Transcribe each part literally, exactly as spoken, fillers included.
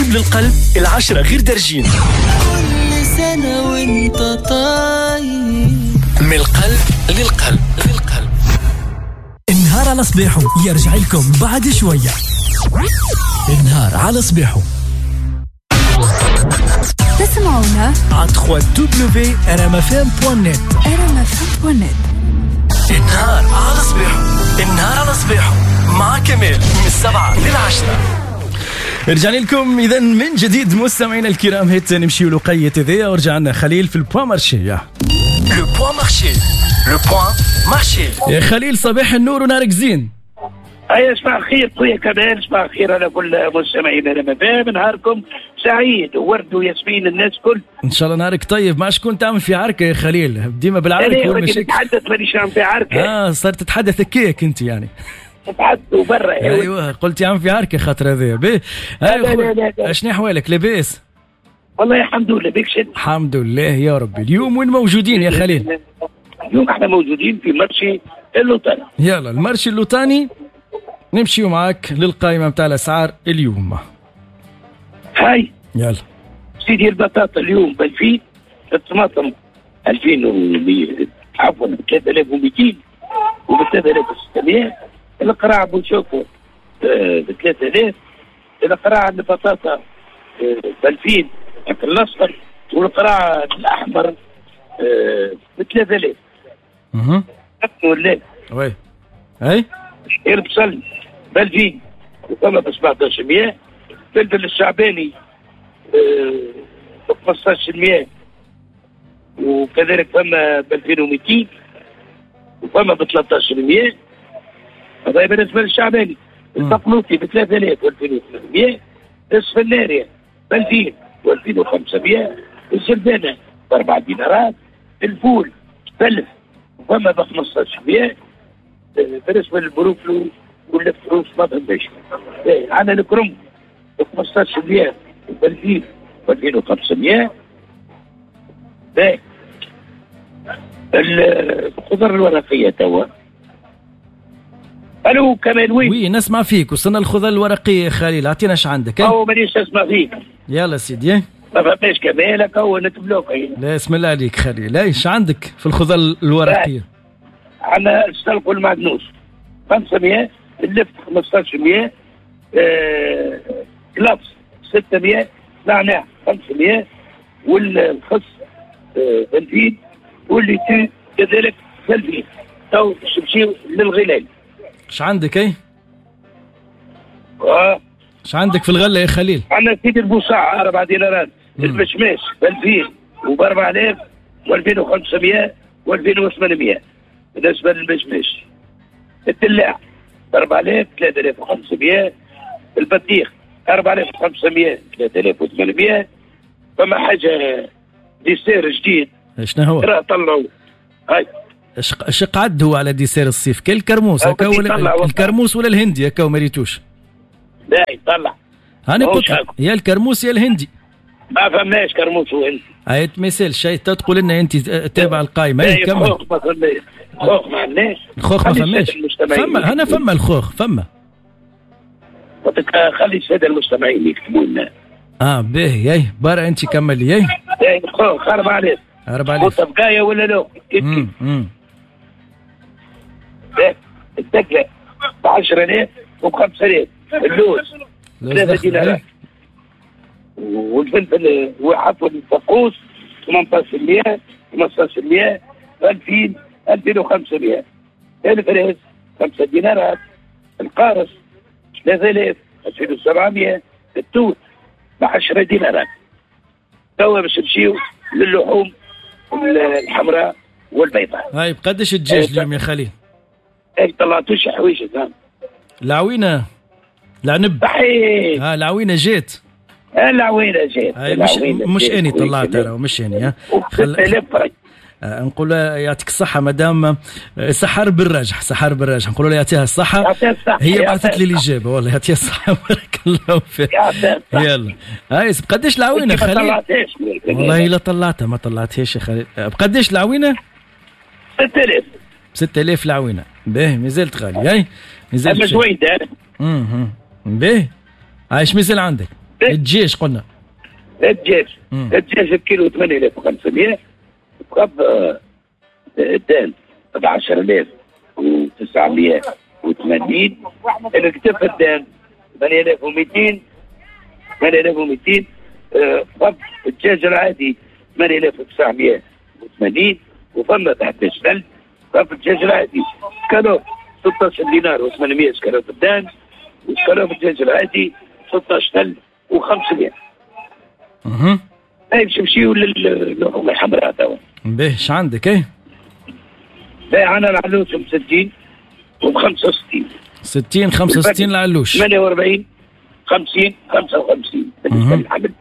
القلب للقلب العشرة غير درجين. كل سنة وانت طيب. من القلب للقلب للقلب. النهار على صباحه يرجع لكم بعد شوية. النهار على صباحه تسمعونا على دبليو دبليو دبليو دوت ار ام اف ام دوت نت. ار ام اف ام دوت نت. النهار على صباحه، النهار على صباحه مع كمال من السبعة للعشرة. رجعنا لكم اذا من جديد مستمعينا الكرام، هات نمشيو لقية هذيا ورجعنا خليل في ال point marché. le point marché، le point marché. يا خليل صباح النور ونهارك زين. هيا صباح الخير خويا كمال، صباح الخير على كل مستمعينا لما نهاركم سعيد وورد وياسمين الناس كل. ان شاء الله نهارك طيب. ما شكون تعمل في عركة يا خليل؟ ديما بالعركه والمشاكل. نتحدث مانيش عم في عركة. اه صرت تتحدث كيك انت يعني. تتحدثوا برا. ايوه قلت يا عم في عركة خاطر هذايا. باهي اشني احوالك لاباس؟ والله الحمد لله بك شد. الحمد لله يا ربي. اليوم وين موجودين يا خليل؟ اليوم احنا موجودين في marché اللوطاني. يلا ال marché اللوطاني نمشيو معاك للقائمة متاع الأسعار اليوم. هاي يلا سيدي البطاطا اليوم ب ألفين، الطماطم ألفين ومية عفوا ثلاثة آلاف ومئتين وب ثلاثة آلاف وستمية، القراع بنشوفه ب ثلاثة آلاف، القراع البطاطا ب ألفين الأصفر، والقراع الأحمر ب ثلاثة آلاف. اها ولا oui اي البصل ب ألفين وفما ب سبعطاش مية، الفلفل الشعباني ب خمسطاش مية وكذلك فما ب ألفين ومئتين وفما ب ثلاثطاش مية. هذا بالنسبة للشعباني. البقلوطي ب ثلاثة آلاف و ألفين وثمانمية، السفناريا ب ألفين و ألفين وخمسمية، الجلبانة ب أربعة دينارات، الفول ب ألف وفما ب خمسطاش مية. بالنسبة للبروفلو والفروس ما فهمتش. عندنا الكرنب ب خمسطاش مية وب ألفين و ألفين وخمسمية. باهي الخضر الورقية توا. الو كمال وين؟ oui نسمع فيك. وصلنا الخضر الورقية يا خليل، اعطينا اش عندك. او مانيش نسمع فيك. يلا سيدي. ما فهمتش كمال هكا هو نتبلوك. لا اسم الله عليك خليل. ايش عندك في الخضر الورقية؟ عندنا السلق والمعدنوس خمسمية، اللفت خمسطاش مية، آه، كلابس ستمية، نعناع خمسمية، والخس آه، ألفين، والليتو كذلك ألفين. تو باش نمشيو للغلال. اش عندك اي؟ اه اش عندك في الغلة يا خليل؟ عندنا سيدي البوصاع أربع دينارات، المشماش ب ألفين وب أربعة آلاف و ألفين وخمسمية و ألفين وثمانمية. بالنسبة للمشماش. الدلاع ب أربعة آلاف ثلاثة آلاف وخمسمية، البطيخ أربعة آلاف وخمسمية ثلاثة آلاف وثمانمية. فما حاجة dessert جديد. شنو هو؟ راه طلعوا هاي اش قعد هو على dessert الصيف؟ كل الكرموس هكا ولا الكرموس ولا الهندي هكا وما ريتوش. لا يطلع. هاني قلت يا الكرموس يا الهندي. ما فهمناش كرموس وهندي. هاي ما يسالش، تقول لنا انت تابع القائمة. اي كمل. الخوخ ما فماش. الخوخ ما عندناش. الخوخ ما فماش. فما هنا فما الخوخ فما. قلت لك خلي السادة المستمعين يكتبوا لنا. اه باهي اي برا انت كمل لي. اي الخوخ أربعة آلاف. أربعة آلاف. بقايا ولا لا؟ امم امم الدقله ب عشرة آلاف وب خمسة آلاف، اللوز ثلاثة دينارات، والفلفل وعفوا الفقوس ثمنطاش مية خمسطاش مية ألفين ألفين وخمسمية، الفريز خمسة دينارات، القارص ثلاثة آلاف ألفين وسبعمية، التوت ب عشرة دينارات. توا باش نمشيو للحوم الحمراء والبيضاء. هاي بقداش الدجاج اليوم يا خليل؟ اي طلعتوش حويجه. العوينة العنب. صحيح. اه العوينة جات. العوينة جات. مش مش اني طلعتها راهو مش اني. خل... آه نقول يعطيك الصحة مدام سحر بالراجح، سحر بالراجح نقول لها يعطيها الصحة. يعطيها الصحة. هي بعثت لي الإجابة والله يعطيها الصحة بارك الله فيك. يلا هاي بقداش العوينة خليل؟ والله لا طلعتها ما طلعتهاش يا خليل. بقداش العوينة؟ ستة آلاف. ستة آلاف العوينة. باهي مازالت غالية. هاي مازالت جويدة. اها باهي. عايش مازال عندك؟ الدجاج قلنا الدجاج الدجاج بكيلو ثمانية آلاف وخمسمية، بقب الدان ب عشرة آلاف وتسعمية وثمانين، الكتف الدان ثمانية آلاف ومئتين، ثمانية آلاف ومئتين، بقب الدجاج العادي ثمانية آلاف وتسعمية وثمانين، وفما تحت ألف بقب الدجاج العادي. سكالوب ستة عشر دينار وثمانمية سكالوب الدان، وسكالوب الدجاج العادي ستة عشر ألف وخمسمية. اها اي باش نمشيو للحوم الحمراء توا. باهي اش عندك اي؟ باهي عندنا العلوش ب ستين وب خمسة وستين. ستين خمسة وستين العلوش. ثمانية وأربعين خمسين خمسة وخمسين بالنسبة للحمل.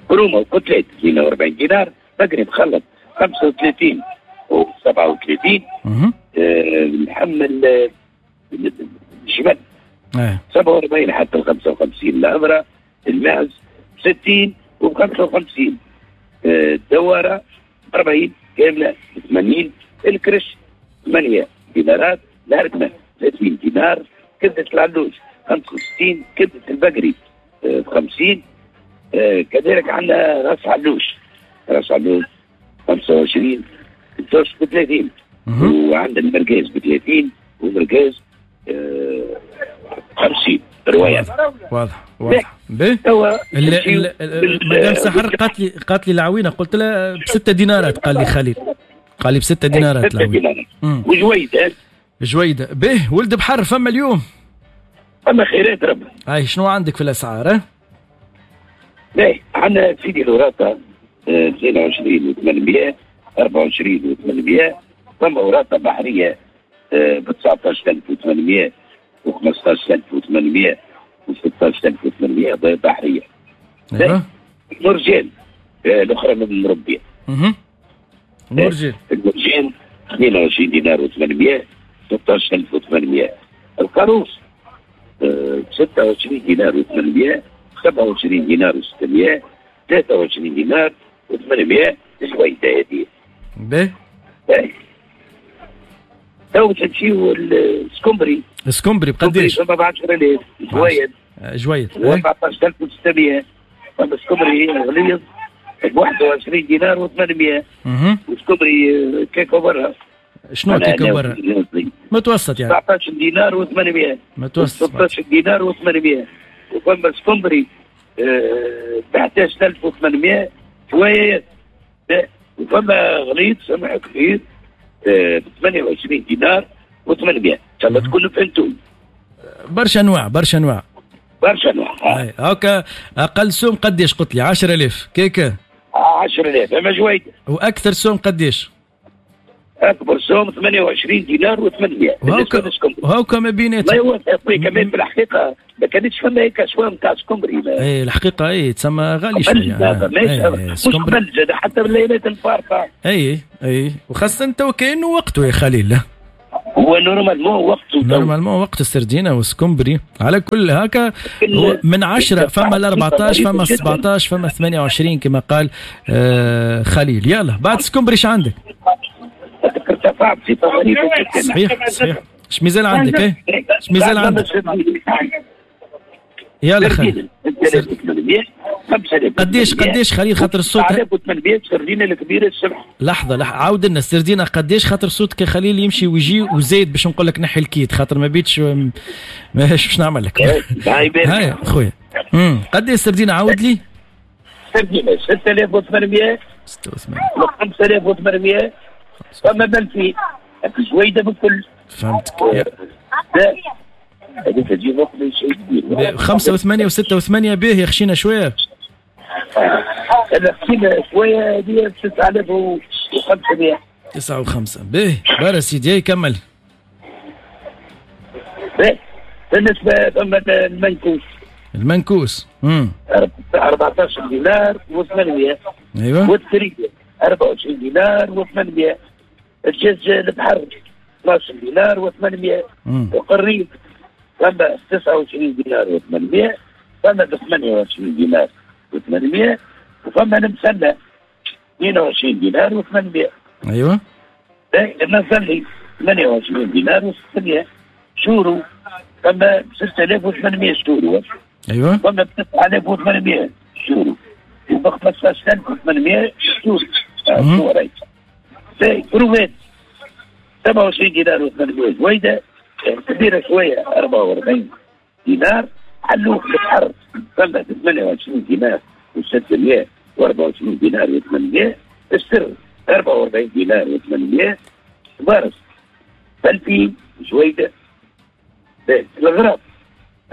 كرومة وكتلات اثنين وأربعين دينار، بقري مخلط خمسة وثلاثين و سبعة وثلاثين. اها اللحم الجمل سبعة وأربعين حتى ال خمسة وخمسين، العبرة المعز ستين و خمسة وخمسين، الدوارة أربعين كاملة ثمانين، الكرش ثمانية دينارات، الهركمة ثلاثين دينار، كبدة العلوش خمسة وستين، كبدة البقري خمسين، كذلك عندنا راس علوش، راس علوش خمسة وعشرين، التوش ب ثلاثين، وعندنا المرقاز ب ثلاثين ومرقاز خمسين روايات. واضح واضح. باهي مدام سحر قالت لي قالت لي العوينة، قلت لها بستة دينارات، قال لي خليل قال لي بستة دينارات العوينة. وجويده جويده. باهي ولد بحر فما اليوم؟ فما خيرات ربي. هاي شنو عندك في الاسعار؟ باهي عندنا سيدي الوراثة اثنين وعشرين وثمانمية، أربعة وعشرين وثمانمية، فما وراثه بحرية ب تسعطاش ألف وثمانمية و خمسطاش ألف وثمانمية و ستطاش ألف وثمانمية بحرية. ايوه. المرجان الاخرى من المربيه. اها. المرجان المرجان اثنين وعشرين دينار وثمانمية، ستطاش ألف وثمانمية. القاروص ستة وعشرين دينار وثمانمية، سبعة وعشرين دينار وستمية، ثلاثة وعشرين دينار وثمانمية شوية هذه. باهي. باهي. تو باش نمشيو السكومبري. السكومبري بقداش؟ فما ب عشرة آلاف جويد. جويد. أربعطاش ألف وستمية. فما سكومبري غليظ ب واحد وعشرين دينار وثمانمية. اها. وسكومبري كيكو برا. شنو كيكو برا؟ متوسط يعني. تسعطاش دينار وثمانمية. متوسط. ستطاش دينار وثمانمية. وفما سكومبري ب إحداش ألف وثمانمية جويد. وفما غليظ سمح كبير ب ثمانية وعشرين دينار وثمانمية. ان شاء الله تكونوا فهمتوا. برشا انواع برشا انواع برشا انواع. اي هاكا اقل سوم قداش قلت لي؟ عشرة آلاف كيكة. عشرة آلاف اما جويده. واكثر سوم قداش؟ اكبر سوم ثمانية وعشرين دينار وثمانمية. وهاكا وهاكا ما بيناتهم. لا هو كمان في الحقيقة ما كانتش فما هيك اسوام تاع سكومبري. اي الحقيقة اي تسمى غالي شوية. مش قبل زاد حتى بالليلات الفارطه. اي اي وخاصة تو كانه وقته يا خليل. هو normalement وقته normalement وقت السردينه والسكومبري على كل هكا من عشرة فما ال أربعطاش فما سبعطاش فما ثمانية وعشرين كما قال آه خليل. يلا بعد سكومبري ايش عندك؟ ارتفع بصفة غريبة جدا. صحيح صحيح. اش مازال عندك؟ ايه اش مازال عندك؟ يلا خليل قديش قديش خليل خاطر الصوت تسعة آلاف وثمانمية سردينه الكبيرة السبح. لحظة لحظة عاود لنا السردينه قديش خاطر صوتك يا خليل يمشي ويجي وزايد باش نقول لك نحي الكيت خاطر ما بيتش ماهيش باش نعمل لك. هاي خويا امم قديش السردينه عاود لي؟ السردينه ستة آلاف وثمانمية ستة وثمانين خمسة آلاف وثمانمية فما بلفي جويده بالكل. فهمتك. هذيك تجي وقت شيء كبير. خمسة وثمانية وستة وثمانية باهي خشينا شوية. هذا خشينا شوية هذه تسعة آلاف وخمسمية. تسعة وخمسة باهي برا سيدي كمل. باهي بالنسبة فما المنكوس. المنكوس امم أربعطاش دينار وثمانمية. ايوه. والثريدة أربعة وعشرين دينار وثمانمية. الدجاج البحر اثناش دينار وثمانمية. وقريب فما تسعة وعشرين دينار وثمانمية، فما ثمانية وعشرين دينار وثمانمية، وفما المسلة اثنين وعشرين دينار وثمانمية. ايوه. المسلي ثمانية وعشرين دينار وستمية. شورو فما ستة آلاف وثمانمية شورو. ايوه فما ب تسعة آلاف وثمانمية شورو، وب خمسطاش ألف وثمانمية شورو. كروفات سبعة وعشرين دينار وثمانمية جويده، كبيرة شوية أربعة وأربعين دينار. حلوف البحر فما ثمانية وعشرين دينار وستمية وأربعة وعشرين دينار وثمانمية. السر أربعة وأربعين دينار وثمانمية. بارس ألفين جويده. الغراب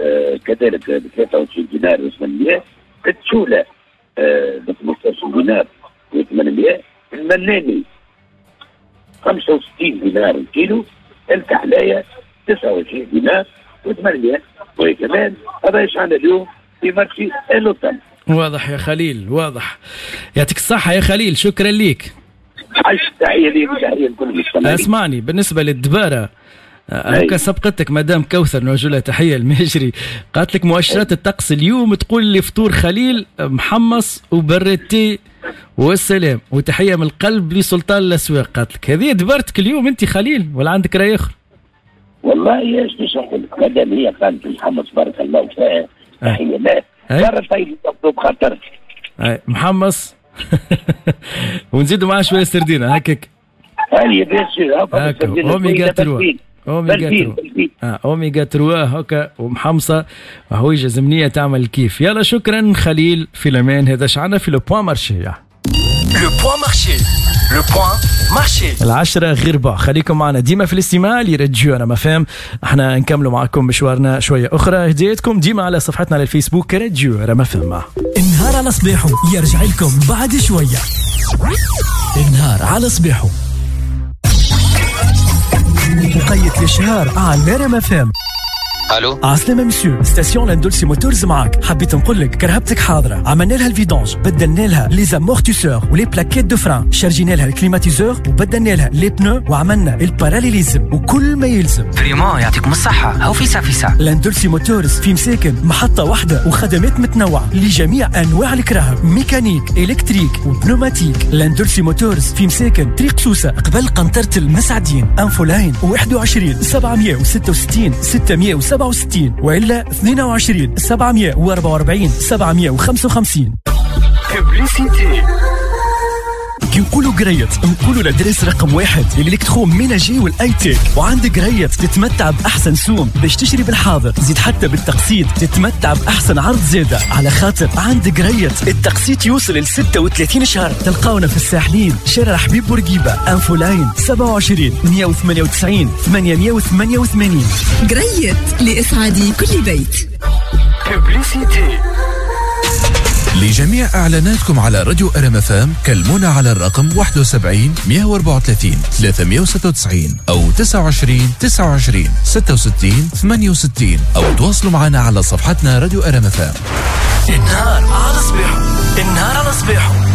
آه كذلك ب ثلاثة وعشرين دينار وثمانمية. التشوله آه ب خمسطاش دينار وثمانمية. المناني خمسة وستين دينار الكيلو. الكحلايه تسعة وعشرين دينار وثمانمية. وكمان هذا ايش عندنا اليوم في marché اللوطان. واضح يا خليل، واضح. يعطيك الصحة يا خليل، شكرا ليك. عايش، تحية ليك وتحية لكل المستمعين. اسمعني، بالنسبة للدبارة هكا سبقتك مدام كوثر، نوجه لها تحية المجري، قالت لك مؤشرات الطقس اليوم تقول لي فطور خليل محمص وبرتي والسلام، وتحية من القلب لسلطان الأسواق. قالت لك هذه دبرتك اليوم أنت خليل ولا عندك رأي آخر؟ والله ايش باش نقول لك، مادام هي قالت محمص بارك الله فيها، تحية لها. برا طيب بخاطر محمص ونزيدوا معاه شوية سردينة هكاك. هاني bien sûr oméga trois، oméga trois، اه اوميغا ثلاثة هكا ومحمصه وحويجه زمنية تعمل كيف. يلا شكرا خليل في الامان. هذا شعنا في le point marché. le point marché، le point marché العشرة غير ربع. خليكم معنا ديما في الاستماع لراديو رما فام. احنا نكملوا معكم مشوارنا شوية أخرى. هديتكم ديما على صفحتنا على الفيسبوك راديو رما فام. النهار على صباحه يرجع لكم بعد شوية. النهار على صباحه وقيت الشهر على رما فام. الو عسلامة monsieur، station لاندولسي موتورز معاك. حبيت نقول لك كرهبتك حاضرة، عملنا لها ال vidange، بدلنا لها les amortisseurs و les plaquettes de frein، شارجينا لها ال climatiseur وبدلنا لها les pneus وعملنا ال parallélisme وكل ما يلزم. vraiment يعطيكم الصحة. هاو فيسا فيسا لاندولسي موتورز في مساكن محطة واحدة وخدمات متنوعة لجميع أنواع الكراهب، mécanique، électrique و pneumatique. لاندولسي موتورز في مساكن طريق سوسة قبل قنطرة المسعدين. infoline واحد وعشرين سبعمية وستة وستين ستمية وسبعة وستين وإلا اثنين وعشرين سبعمية وأربعة وأربعين سبعمية وخمسة وخمسين. كي نقولوا قريت نقولوا l'adresse رقم واحد لل électroménager وال high-tech. وعند قريت تتمتع باحسن سوم باش تشري بالحاضر، زيد حتى بالتقسيط تتمتع باحسن عرض زاده. على خاطر عند قريت التقسيط يوصل ل ستة وثلاثين شهر. تلقاونا في الساحلين شارع حبيب بورقيبة، infoline سبعة وعشرين مية وثمانية وتسعين ثمانمية وثمانية وثمانين. قريت لإسعاد كل بيت. لجميع إعلاناتكم على راديو أر إم إف إم كلمونا على الرقم واحد وسبعين مية وأربعة وثلاثين ثلاثمية وستة وتسعين أو تسعة وعشرين تسعة وعشرين ستة وستين ثمانية وستين أو تواصلوا معنا على صفحتنا راديو أر إم إف إم. النهار على صباحه، النهار على صباحه